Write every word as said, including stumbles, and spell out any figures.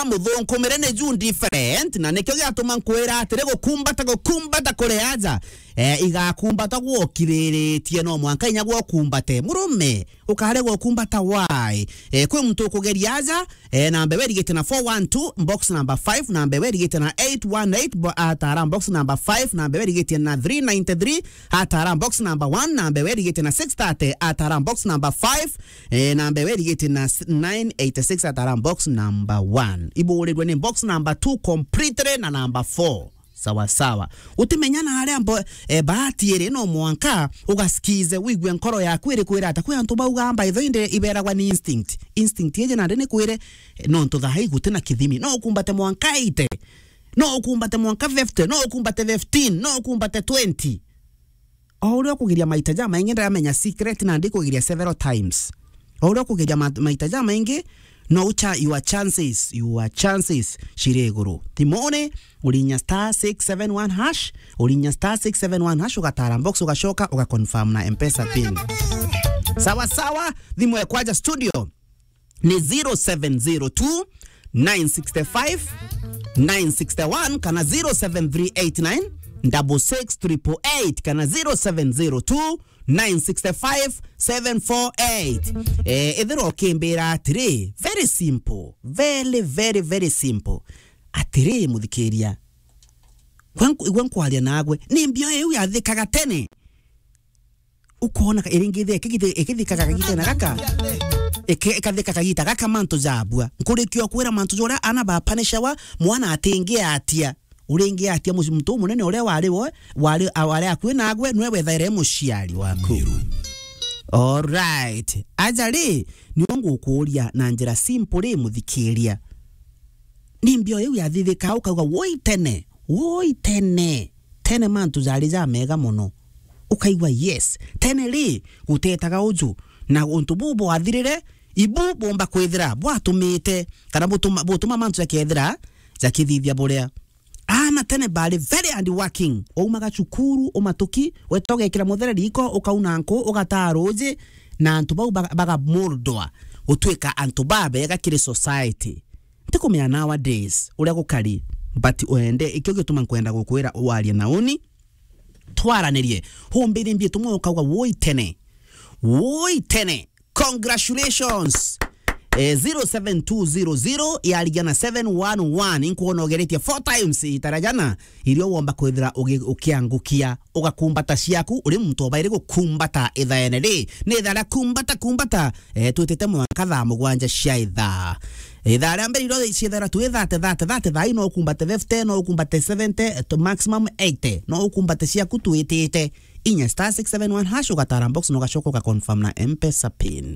muthunkumire ni juu different, na nikio giatuma nkwira atiri gukumbata, gukumbata kuri aja, eh, igakumbata gwokiriritie, no mwanka inya gwokumbate. Murume, ukaregwa ukumbata why? Eh, kwi muntu ukugeria aja, eh, namba iwe irigite na four one two, box number five, namba iwe irigite na eight one eight, bo-, atara box number five, namba iwe irigite na three ninety-three, atara box number one, namba iwe irigite na six thirty, atara box number five, eh, namba iwe irigite na s-, nine eighty-six, atara box number one. Iburirwe ni box number two completely na number four. Sawa sawa. Utimenya na aria mbo-, eh, bahati iri no mwanka ugasikize, wigue nkoro yaku iri kwira ata. Kwi antu bauga, by the way, ndi iberagwa ni instinct. Instinct iji nandi ni kwire, eh, nontu thaa ii guti na kithimi. No ukumbate mwanka eighty. No ukumbate mwanka fifty. No ukumbate fifteen. No ukumbate twenty. O uria ukugeria maita jamaingi, ndiramenya secret, na ndikugeria several times. O uria ukugeria ma-, maita jamaingi, no ucha-, your chances, your chances ciri iguru. Thimuni, urinya star six seven one hash, urinya star six seven one hash, ugatara box, ugacoka, ugaconfirm na M-Pesa pin. Sawa sawa, thimu ya kwaja studio ni zero seven zero two, nine six five, nine six one kana zero seven three eight nine, double six triple eight kana zero seven zero two, nine six five, seven four eight. Eh, ethirwa ukimbira atiri, very simple, very, very, very simple. Atiri, muthikiria, gwe nk-, gwe nkwaria nagwe, ni mbio iu yathikaga tene. Ukona ka-, iringi thi-, ikithithe-, ikithika kagita na gaka. Iki-, ikathika kagita gaka mantu jabua. Nkurikia kwira mantu jora ana ba punishawa, mwana atingi atia. Uringi atia muci-, muntu umunene uria wari wo, wari, a-, wari akui nagwe, nwe wethaire muciari waku. All right. Aja ri, nio ngukuria na njira simple ri, muthikiria. Ni mbio iu yathithika, ukauga, "Woi tene, woi tene." Tene mantu jari jamega mono. Ukaigua, yes. Tene ri, gutetaga uju, na untu buu bwathirire, ibu bumba kwithira bwatumite, kana butuma, butuma mantu jakethira jakithithia buria. Ana tene bari very hard working. Waumaga cukuru, umatuki, weta ugekira muthere riko, ukauna nku, ugataa ruji, na antu bau baga-, bagamoldwa gutwika antu babega kiri society. Ntikumenya nowadays uria gukari, but wende, ikio gituma nkwenda gukwira warie na uni, twaranirie. Humbiri mbie tumwe ukauga, "Woi tene. Woi tene." Congratulations. Eh, zero seven two zero zero yarigia na seven one one. Inkuona ugeretie four times itara jana, irio womba kwithira ugi-, ukiangukia, ugakumbata ciaku, uri muntu obaire gukumbata ithaene ri. Ni ithaa ria kumbata, kumbata, eh, twitite mwanka thaa mugwanja cia ithaa. Ithaa ria mbere iro ciethera twi thirty, thirty, thirty, thaa ii no ukumbate fifty, no ukumbate seventy, to maximum eighty. No ukumbate ciaku twitite. Inya star six seven one hash, ugatara box, na ugacoka ugaconfirm na M-Pesa pin.